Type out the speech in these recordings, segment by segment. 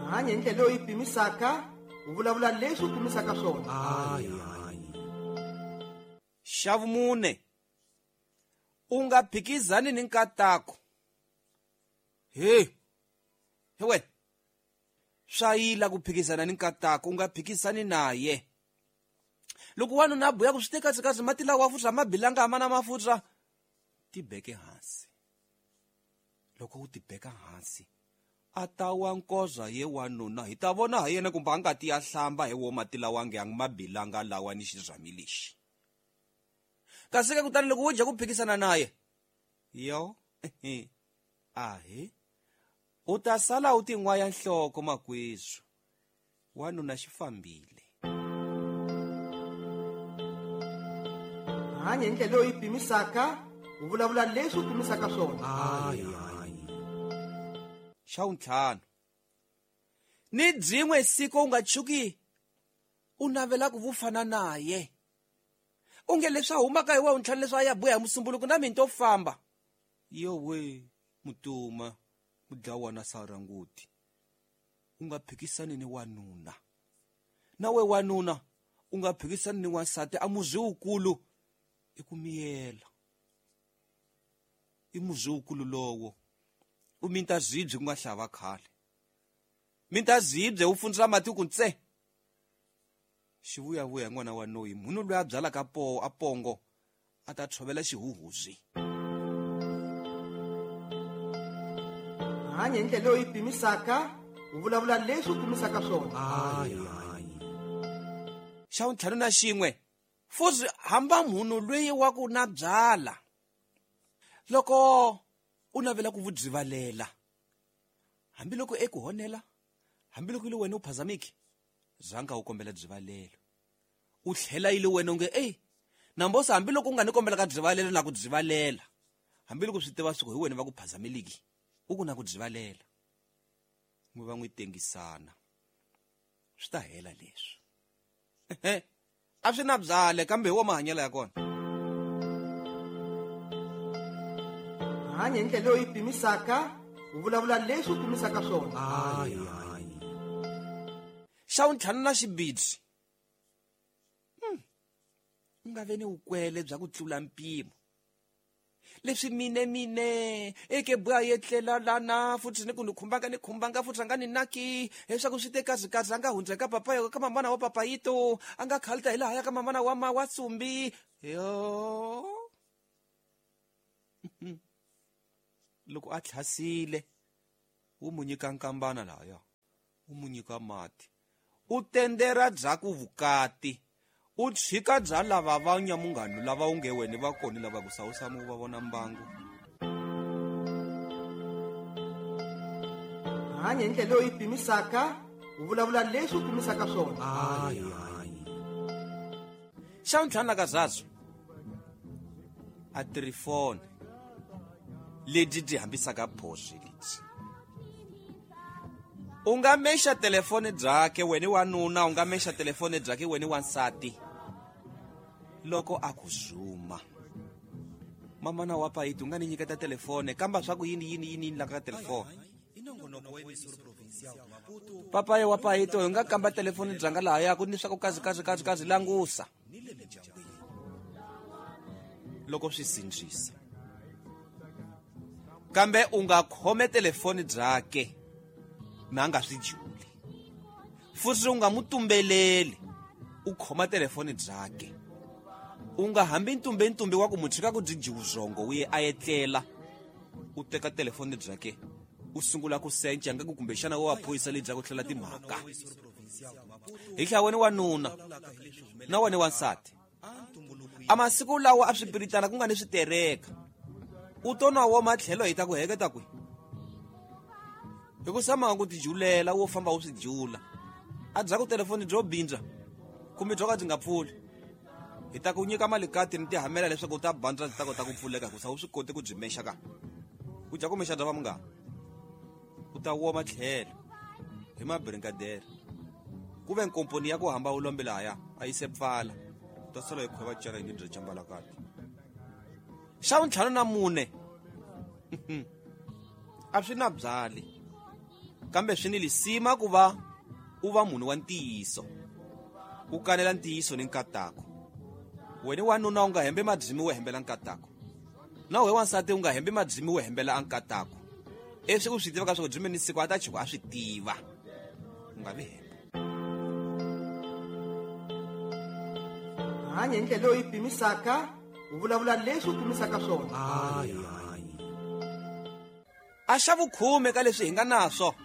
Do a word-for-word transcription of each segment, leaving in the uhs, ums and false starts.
Hanya hi ndlela leyi u yi pimisaka, u vulavula leswi u pimisaka swona. Xa vumune, u nga phikizani ni nkatako. He he wena, swa yila ku phikizana ni nkatako, u nga phikizani naye. Loko wanuna a buya ku swi teka kazi mati lawa futsa mabilanga a mana mafutsa, tibeke hansi. Loko u tibeka hansi, a ta wa nkoza ye wanuna, hi ta vona ha yena kumbe a nga ti ya hlamba hi wo mati lawa nge yang mabilanga lawa ni xizami lexi. Kasi ke kutani loko wo dya ku phikisana naye, yo ahe u ta sala u tin'waya nhloko makwezu, wanuna xi fambile. Hanya hi ndlela leyi u yi pimisaka, u vulavula leswi u pimisaka swona. Xa vuntlhanu, ni byin'we siku u nga tshuki u navela ku vufana naye. U nge leswi a humaka hi wa vuntlhanu leswi a ya buya hi musumbuluko na mina to famba. Yo we mutuma mudlawana saranguti, u nga phikisani ni wanuna. Na we wanuna u nga phikisani ni wansati, a muzi wukulu i ku miyela. I muzi wukulu lowo u minta zibye ku nga hlava khale. Minta zibye u fundzula mati ku ntse. Xivuyavuya n'wana wa noyi, munhu loyi a byalaka po a pongo a ta tshovela xihuhuzi. Hanya hi ndlela leyi u yi pimisaka, u vulavula leswi u pimisaka swona. Xa vuntlhanu na xin'we, futhi hamba munhu loyi wa ku na byala. Loko u navela ku vubyivalela, hambiloko eku honela, hambiloko ile wena u phazamiki, zanga u kombela byivalelo. U tlhela ile wena u nge ey, nambosa hambiloko u nga ni kombela ka byivalelo na ku byivalela, hambiloko swi tiva swi ku hi wena va ku phazameliki, u ku na ku byivalela. N'wi va n'wi tengisana, swi ta hela leswi. A swi na byale kambe hi wo mahanyelo ya kona. Hanya hi ndlela leyi u yi pimisaka, u vulavula leswi u pimisaka swona. Xa vuntlhanu na xibidzi, u nga ve ni vukwele bya ku tlula mpimo. Leswi mine mine eke buya yetlela lana futhi ni ku ni khumbanga ni khumbanga futhi a nga ni naki leswaku swi te kazi kazi a nga hundza ka papa ka mamana wa papayito, a nga khalita hi lahaya ka mamana wa ma wa tsumbi. Yo loko a tlhasile wu mu nyika nkambana lahaya, wu mu nyika mati, u tendera bya ku vukati, u tshika bya lava va nyamunghanu lava u nge wena va kona lava ku sawusamu va vona mbangu. Hanya hi ndlela leyi u yi pimisaka, u vulavula leswi u pimisaka swona. Xa vuntlhanu na kazazo, a tirifoni lebyi byi hambisaka phoswi lebyi. U nga mexa telefoni byakhe wena wanuna, u nga mexa telefoni byakhe wena wansati. Loko a ku zuma, mamana wa payiti u nga ni nyiketa telefoni, kamba swa ku yini yini yini yini la ka telefoni. Papaya wa payiti u nga kamba telefoni byanga lahaya ku ni swa ku kazi kazi kazi kazi langusa. Loko swi sindzisa, kambe u nga khome telefoni byakhe na nga swi juli. Futhi u nga mu tumbeleli, u khoma telefoni byakhe. U nga hambi ntumbe ntumbe wa ku mu tshika ku byi jiwuzongo u ye a etlela. U teka telefoni byakhe, u sungula ku senca nga ku kumbexana wa phorisa lebya ku hlela timhaka. Hi tlhela wena wanuna na wena wansati, a masiku lawa a swi piritana ku nga ni switereka, u to na wo matlhelo hi ta ku heketa kwi. Hi ku sama ku tijulela wo famba u swi jula, a bya ku telefoni byo bindza kumbe byo ka byi nga pfuli, hi ta ku nyika mali kati ni tihamela leswaku u ta bandza byi ta kota ku pfuleka hikusa u swi koti ku byi mexa ka. U dya ku mexa bya va munghana, u ta woma tlhelo hi mabrinkadere. Ku ve nkomponi ya ku hamba u lombe lahaya a yi se pfala, u ta sala hi khweva cara yini bya cambalakati. Xa vuntlhanu na mune, a swi na byali, Kambe swi ni lisima ku va u va munhu wa ntiyiso, u kanela ntiyiso ni nkatako. Wena wanuna u nga hembe madlimi wo hembela nkatako, na wehe wansati u nga hembe madlimi wo hembela ankatako. Leswi u swi tivaka swa ku dzime ni siku a ta chuka a swi tiva, u nga vi hemba. Hanya hi ndlela leyi u yi pimisaka, u vulavula leswi u pimisaka swona. A xa vukhume ka leswi hi nga naswo,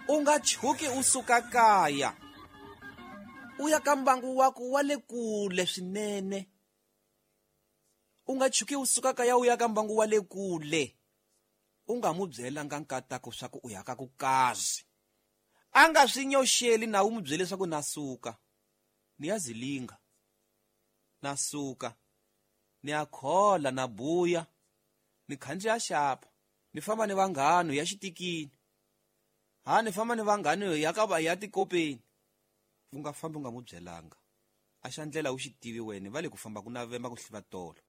u nga chuki u suka kaya u ya ka mbangu wa ku wa le kule swinene. U nga chuki u suka kaya u ya ka mbangu wa le kule, u nga mu byelanga nkatako swa ku u ya ka ku kazi. A nga swi nyoxeli na u mu byele swa ku na suka ni ya zilinga, na suka ni ya khola na buya, ni khandziya xapa, ni famba ni vanghano ya xitikini, ha ni famba ni vanghano ya ka va ya tikopeni. U nga fambi u nga mu byelanga. A xa ndlela u xi tivi wena, va le ku famba ku navemba ku hliva tolo.